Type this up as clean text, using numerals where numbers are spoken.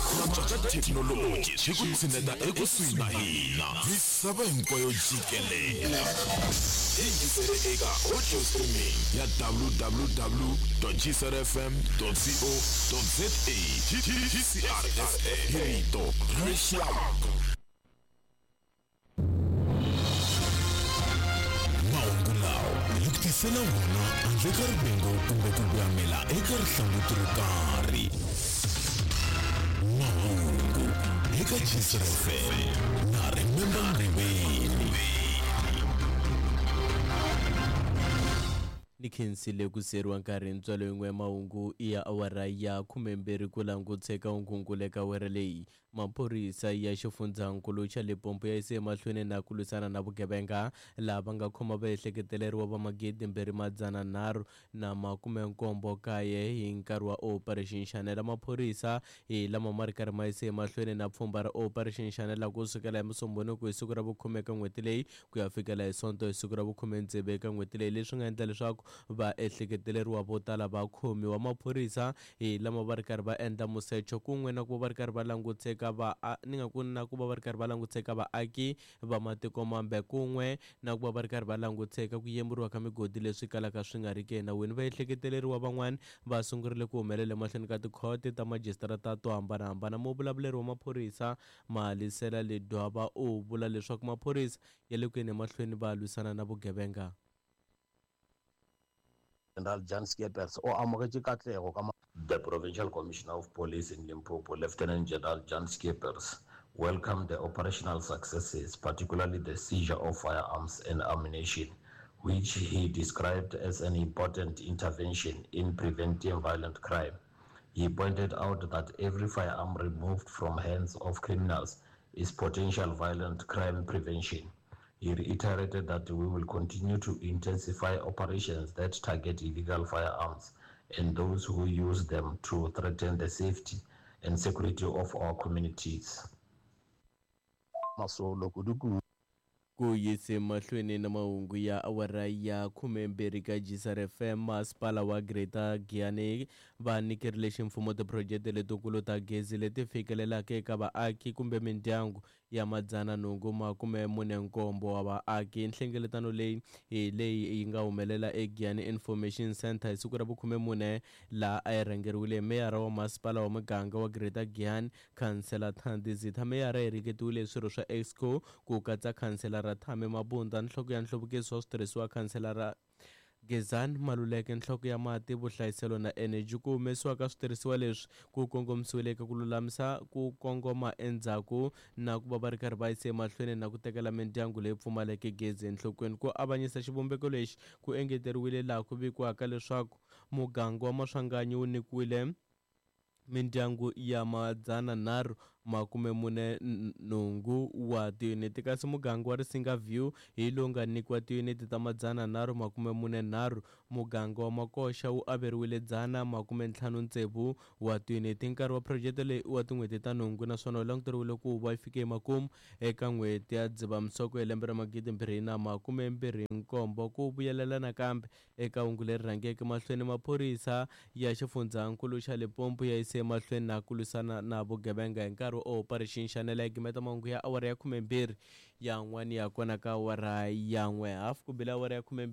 Ku cinca ka thekinoloji swi ku tshineta ekusuhi na hina misava hinkwayo jikelele. Yingisele eka audio streaming ya www.gcrfm.co.za GCRFM hi rito ra rixaka. Mahungu lawa hi ku tisela wona handle ka rivengo kumbe ku voyamela eka rihlanguti ro karhi. Mahungu eka GCR FM na Remember Ngweveni. Ni khensile ku siyeriwa nkarhi ntswalo yin'we ya mahungu ya awara ya 12 ku languteka hungu eka awara leyi. Maphorisa ya xifundzankulu xa Limpopo ya yise emahlweni na ku lwisana na vugevenga laha va nga khoma vaehleketeleriwa va 2379 hi nkarhi wa Operation Shanela. Maphorisa hi lama ma ri karhi ma yise emahlweni na pfhumba ra Operation Shanela ku sukela hi Musumbhunuku hi siku ra vukhume eka n'hweti leyi ku ya fikela hi Sonto hi siku ra vukhume tsevu eka n'hweti leyi, leswi nga endla leswaku vaehleketeleriwa vo tala va khomiwa. Maphorisa hi lama va ri karhi va endla musecho kun'we na ku va va ri karhi va languteka va ni nga ku na ku va va ri karhi va languteka vaaki va matiko mambe kun'we na ku va va ri karhi va languteka ku yemburiwa ka migodi leswi kalaka swi nga ri ki enawini. Vaehleketeleriwa van'wana va sungurile ku humelela emahlweni ka tikhote ta majisitarata to hambanahambana. Muvulavuleri wa maphorisa Malisela Ledwaba u vula leswaku maphorisa ya le ku yeni emahlweni va lwisana na vugevenga. General Jan Skeepers o amogetše katlego ka The Provincial Commissioner of Police in Limpopo, Lieutenant General Jan Skeepers, welcomed the operational successes, particularly the seizure of firearms and ammunition, which he described as an important intervention in preventing violent crime. He pointed out that every firearm removed from hands of criminals is potential violent crime prevention. He reiterated that we will continue to intensify operations that target illegal firearms and those who use them to threaten the safety and security of our communities. Masolo kudu-kudu. Ku yise mahlweni na mahungu ya awara ya 12 ka GCR FM, masipala wa Greater Giyani va nyikerile ximfumo tiphurojete letikulu ta gezi leti fikelelaka eka vaaki kumbe mindyangu ya 847 wa vaaki. Nhlengeletano leyi hi leyi yi nga humelela eGiyani Information Centre hi siku ra vu-14, laha a yi rhangeriwile hi meyara wa masipala wa muganga wa Greater Giyani, Khansela Thandi Zitha. Meyara yi ringetiwile hi swirho swa Exco ku katsa khanselara Thami Mabunda, nhloko ya nhluvukiso wa switirhisiwa khanselara Gezani Maluleke, nhloko ya mati, vuhlayiselo na eneji. Ku humesiwa ka switirhisiwa leswi ku kongomisiwile eka ku lulamisa ku kongoma endzhaku na ku va va ri karhi va yise emahlweni na ku tekela mindyangu leyi pfumaleke gezi enhlokweni. Ku avanyisa xivumbeko lexi ku engeteriwile laha ku vikiwaka leswaku muganga wa Maswanganyi wu nyikiwile mindyangu ya 348 wa tiyuniti, kasi muganga wa Risinga View hi lowu nga nyikiwa tiyuniti ta 343. Muganga wa Makoxa wu averiwile 156 wa tiyuniti. Nkarhi wa phurojete leyi i wa tin'hweti ta nhungu naswona wu languteriwile ku va yi fike emakumu eka n'hweti ya Dzivamisoko hi lembe ra 2027. Ku vuyelela nakambe Eka hungu leri rhangeke mahlweni, maphorisa ya xifundzhankulu xa Limpopo ya yise emahlweni na ku lwisana na vugevenga hi nkarhi wa Operation Shanela. Yi gimeta mahungu ya awara ya 12 yan'wana ya kona ka awara ya 1 hafu ku bile awara ya 12.